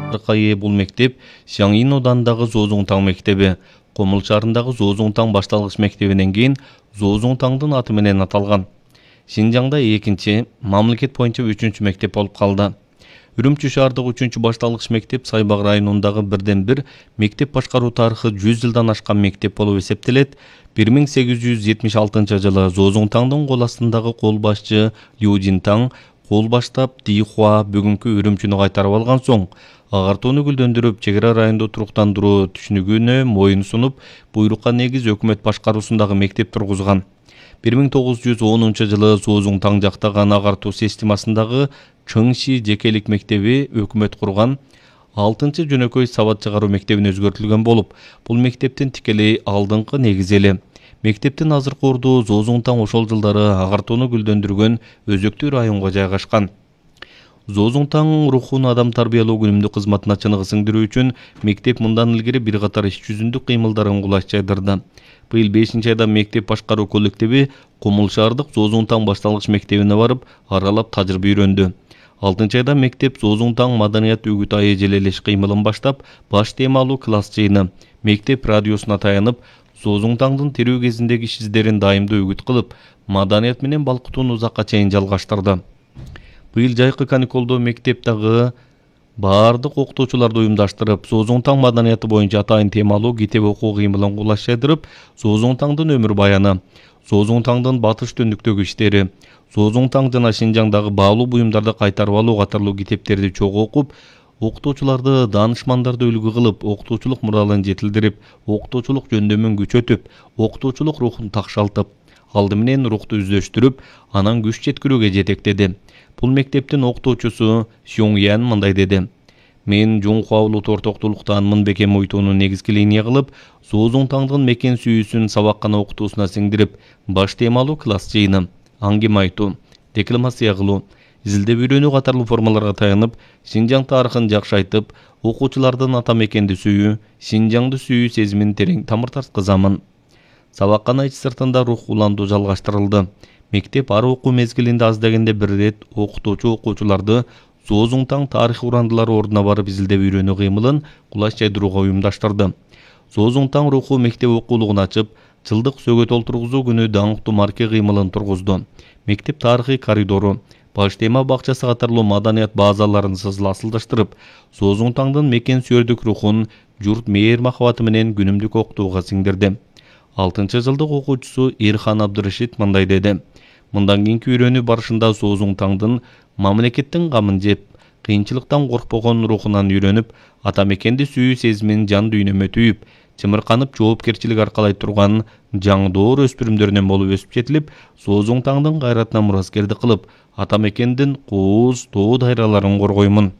Аркайы бул мектеп Сяңин оданындагы Зоозуңтаң мектеби, Комул шаарындагы Зоозуңтаң башталгыч мектебинен кийин Зоозуңтаңдын аты менен аталган. Шинжаңда экинчи, мамлекет боюнча 3-чү мектеп болуп калды. Үрүмчү шаардагы 3-чү башталгыч мектеп Сайбак районундагы бирден бир мектеп башкаруу тарыхы 100 жылдан ашкан мектеп болуп эсептелет. 1876 жылы Зоозуңтаңдын кол астындагы кол башчы Лю Жинтаң кол баштап Дихуа бүгүнкү Үрүмчүнү кайтарып алган соң, агартууну гүлдөндүрүп, чек ара райондо туруктандыруу түшүнүгүнө моюн сунуп, буйрукка негиз өкмөт башкаруусундагы мектеп тургузган. 1910 жылы Зоозуңтаң жактаган агартуу системасындагы Чыңши жекелик мектеби өкмөт курган 6-чы жөнөкөй сабат чыгаруу мектебине өзгөртүлгөн болуп, бул мектептин тикелей алдыңкы негизи эле. Мектептин азыркы орду Зоозуңтаң ошол жылдары агартууну гүлдөндүргөн өзөктүү районго жайгашкан. Зоозуңтаң рухун адам тарбиялоо күнүмдүк кызматына чыныгы сиңдирүү үчүн мектеп мындан илгери бир катар иш жүзүндүк кыймылдарын кулаш жайдырды. Быйыл 5-айда мектеп башкаруу коллективи Комул шаардык Зоозуңтаң башталгыч мектебине барып, аралап тажрыйба үйрөндү. 6-айда мектеп Зоозуңтаң маданият үгүт айы желелеш кыймылын баштап, баш темалуу класс жыйыны, мектеп радиосуна таянып, Зоозуңтаңдын тирүү кезиндеги иш издерин дайымдуу үгүт кылып, маданият менен балкытууну узакка чейин жалгаштырды. Быйыл жайкы каникулдо мектептеги баардык окутуучуларды уюмдаштырып, Зоозуңтаң маданияты боюнча атайын темалуу китеп окуу кыймылын кулаш жайдырып, Зоозуңтаңдын өмүр баяны, Зоозуңтаңдын батыш түндүктөгү иштери, Зоозуңтаң жана Шинжаңдагы баалуу буюмдарды кайтарып алуу катарлуу китептерди чогуу окуп, окутуучуларды, даанышмандарды үлгү кылып, окутуучулук муралын жетилдирип, окутуучулук жөндөмүн күчөтүп, окутуучулук рухун такшалтып, алды менен рухту үздөштүрүп, анан күч жеткирүүгө жетектеди. Бул мектептин окутуучусу Сюңян мындай деди: "Мен Жуңхуа улут ортоктуулуктан Мынбеке Муйтууну негизги линия кылып, Зоозуңтаңдын мекен сүйүүсүн сабаккана окутуусуна сиңдирип, баш темалуу класс жыйыны, аңгеме айтуу, декламация кылуу, изилдеп үйрөнүү катарлуу формаларга таянып, Шинжаң тарыхын жакшы айтып, окуучулардын ата мекенди сүйүү, Шинжаңды сүйүү сезимин терең тамыр тарткызамын." Сабаккана ич сыртында рух улантуу жалгаштырылды. Мектеп ар окуу мезгилинде аз дегенде бир ирет окутуучу окуучуларды Зоозуңтаң тарых урандылары ордуна барып изилдеп үйрөнүү кыймылын кулаш жайдырууга уюмдаштырды. Зоозуңтаң руху мектеп окуулугун ачып, жылдык сөгөт олтургузуу күнү даңктуу марке кыймылын тургузду. Мектеп тарыхый коридору, баш тема бакчасы катарлуу маданият базаларын асылдаштырып, Зоозуңтаңдын мекен сүйөрдүк рухун журт мээр махабаты менен күнүмдүк окутууга сиңдирди. 6-чы жылдык окуучусу Ирхан Абдырашид мындай деди: "Мындан кийинки үйрөнүү барышында Зоозуңтаңдын мамлекеттин камын жеп, кыйынчылыктан коркпогон рухунан үйрөнүп, ата мекенди сүйүү сезимин жан дүйнөмө түйүп, чымырканып жоопкерчилик аркалай турган жаңдоор өспүрүмдөрүнөн болуп өсүп жетилип, Зоозуңтаңдын кайратына мураскердик кылып, ата мекендин кууз, тоо дайраларын коргоймун."